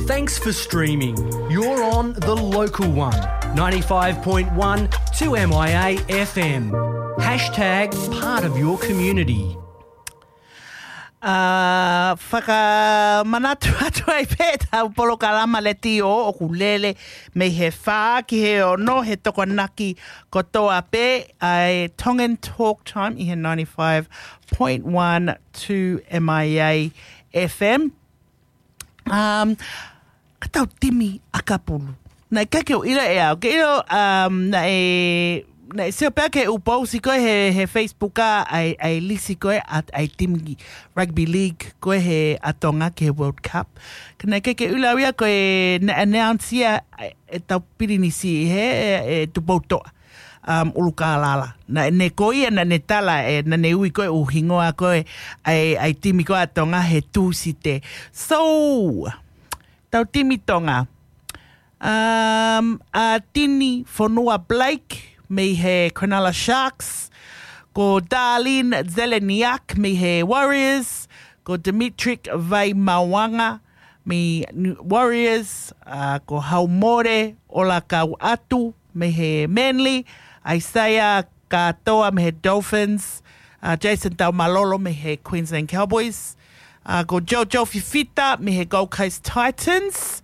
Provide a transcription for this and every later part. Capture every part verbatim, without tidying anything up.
Thanks for streaming. You're on The Local One, ninety-five point one two M I A F M. Hashtag part of your community. ʻA, fakamanatu atu ai pē ʻetau polokalama letiō ʻoku lele mei he fā ki he ono he Tokonaki kotoa pē ʻa e Tongan Talk Time ʻi he ninety-five point one two M I A F M. Um, ka tau timi ʻakapulu. Naʻe ʻikai ke u ʻilo ʻe au. Ke ʻilo, um, naʻe, naʻe sio pē au ki he ʻū pousi ko ē he, he Facebook ʻa e, ʻa e lisi ko ē ʻa, ʻa e timi rugby league ko ē he ʻa Tonga ki he World Cup. Ka naʻe ʻikai ke u ʻilo au ia ko e naʻe announce ia ʻe, ʻetau pilinisi he, ʻe, ʻe Tupoutoʻa. Um, ʻUlukālala. Naʻa ne ko ia, naʻa ne tala ē, naʻa ne ui ko ē ʻū hingoa ko ē ʻa e, ʻa e timi ko ē ʻa Tonga he Tūsite. So, tau timi Tonga. Um, ʻa Tini Fonua Blake mei he Cronulla Sharks. Ko Darlene Zeleniak mei he Warriors. Ko Dimitri Vaimauanga mei New Warriors. Uh, ko Haumore Olakauʻatu mei he Manly. Isaiah Katoa mei he Dolphins. Uh, Jason Taumalolo mei he Queensland Cowboys. Uh, ko Jojo Fifita mei he Gold Coast Titans.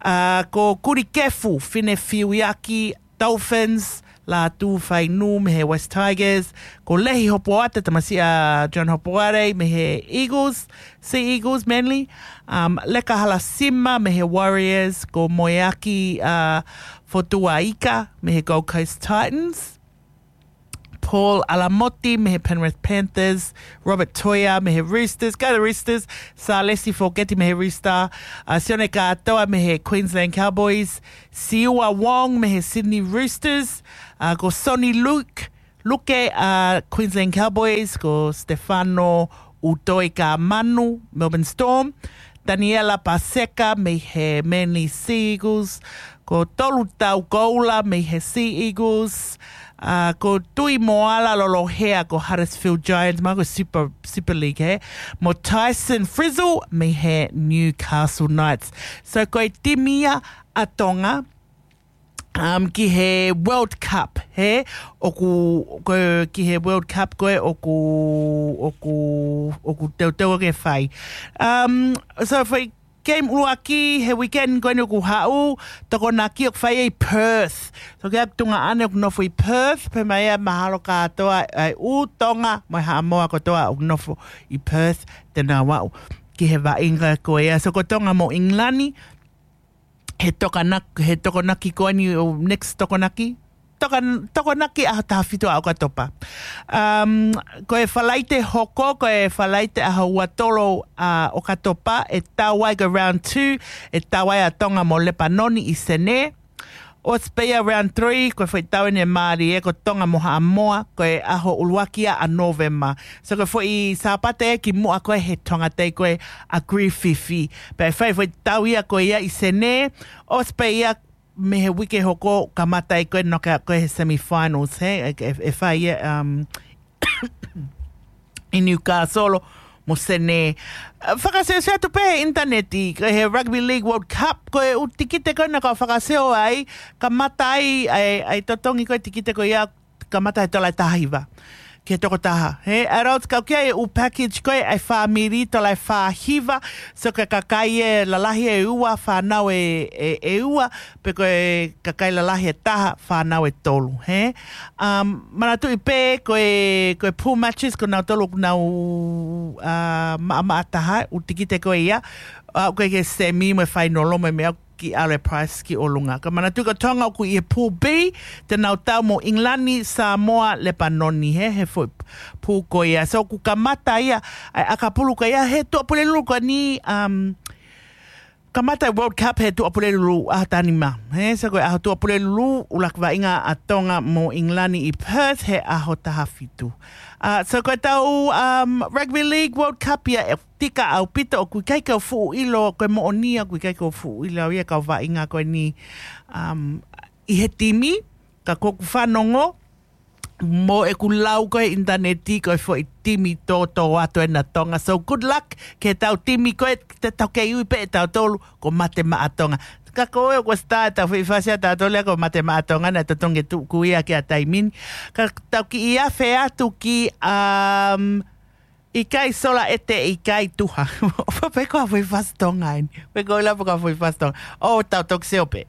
Uh, ko Kuri Kefu Finefiuiaki Dolphins. Lātū Fainu mei he West Tigers. Ko Lehi Hopoate, tamasiʻi ʻa John Hopoate mei he Eagles, Sea Eagles, Manly. Um, Leka Halasima mei he Warriors. Ko Moeaki, uh, Fotuaika mei he Gold Coast Titans. Paul Alamoti mei he Penrith Panthers. Robert Toia mei he Roosters. Go the Roosters. Salesi Foketi mei he Rooster. Uh, Sione Katoa mei he Queensland Cowboys. Siua Wong mei he Sydney Roosters. Uh, ko Sonny Luke, Luke, uh, Queensland Cowboys. Ko Stefano Utoi Kamanu, Melbourne Storm. Daniela Paseka mei he Manly Sea Eagles. Ko Tolu Tau Koula mei he Sea Eagles. Uh, ko Tui Moala Lolohea ko Huddersfield Giants, ma ko Super, Super League he. Mo Tyson Frizzle mei he Newcastle Knights. So ko e timi ia ʻa Tonga, um, ki he World Cup he, ʻoku, ko, ki he World Cup ko ē ʻoku, ʻoku, ʻoku teuteu ke fai. Um, so foʻi game ʻuluaki he weekend ko eni ʻoku haʻu, Tokonaki ʻoku fai ʻi Perth. So ke aku Tonga ʻane ʻoku nofo ʻi Perth, pea mai ʻa mahalo kātoa ʻa e ʻū Tonga mo e Haʻamoa kotoa ʻoku nofo ʻi Perth, te nau aʻu ki he vaʻinga ko ia. So ko Tonga mo England, he Tokonaki, he Tokonaki ko eni ʻo next Tokonaki. Toka, Tokonaki ʻaho taha fitu ʻa ʻOkatopa. Um, ko e Falaite hoko, ko e Falaite ʻaho ua tolu ʻa ʻOkatopa, ʻe tau ai ko e round two, ʻe tau ai ʻa Tonga mo Lepanoni ʻi Senē. ʻOsi pē ia round three, ko e foʻi tau eni ʻe mālie, ko Tonga mo Haʻamoa, ko e ʻaho ʻuluaki ia ʻa Nōvema. So ko e foʻi Sāpate ē kimuʻa ko ē he Tonga Day ko ē ʻa Griffith. Pea ʻe fai foʻi tau ia ko ia ʻi Senē, ʻosi pē ia mei he uike hoko kamata ai ko ē knockout ko ē he semi-finals, he, ʻe, ʻe, ʻe fai ia, um, ʻi Newcastle mo Senē. Uh, fakaseoseo atu pē he ʻinitaneti, ko e he Rugby League World Cup, ko e ʻū tikite ko ē naʻa ku fakaseo ai, kamata ai, ai, ai totongi ko ē tikite ko ia, kamata he tola ʻe taha hiva ki he tokotaha. He, ʻa e rau kau ki ai ʻū package ko ē ʻa e fāmili tola ʻe fā hiva, so ko e kakai ʻe lalahi ʻe ua, fānau ʻe, ʻe, ʻe ua, pe ko e kakai lalahi ʻe taha, fānau ʻe tolu, he. Um, manatuʻi pē ko e, ko e pool matches, ko nau tolu, ko nau, uh, maʻamaʻa taha, ʻū tikite ko ia, uh, ko e ke semi mo e fainolo mo e meʻa ki ʻAle Price ki ʻolunga. Ka manatuʻi ko Tonga ʻoku ʻi he Pool B, te nau tau mo England, Samoa, Lepanoni, he, he foʻi pool ko ia. So ʻoku kamata ia, ʻa e ʻakapulu ko ia, he Tuʻapulelulu ko eni, um, kamata World Cup he Tuʻapulelulu ʻaho taha nima. He, so ko e ʻaho Tuʻapulelulu, ʻuluaki vaʻinga ʻa Tonga mo England ʻi Perth, he ʻaho taha fitu. Uh, so ko e tau, um, Rugby League World Cup ia ʻe tika ʻaupito, ʻoku ʻikai ke u fuʻu ʻilo, ko e moʻoni ia ʻoku ʻikai ke u fuʻu ʻilo ia kau vaʻinga ko eni, um, ʻi he timi, ka ko ʻeku fanongo, mo ʻeku lau ko e ʻinitaneti ko e foʻi timi tōtōatu ena Tonga. So good luck ke tau timi ko e te tau kei ui pē ʻe tautolu ko Mate Maʻa Tonga. Ka ko e ko sta e tau foʻi fasi a tautolu ia ko Mate Maʻa Tonga na e totongi tuku ia ki a taimini. Ka tau kiʻi afe atu ki um, ʻIkai Sola ʻEte ʻIkai Tuha. ʻOfa pē ko ha foʻi fasi Tonga eni. Pe ko ila pe ko ha foʻi fasi Tonga. ʻO tau toki sio pē.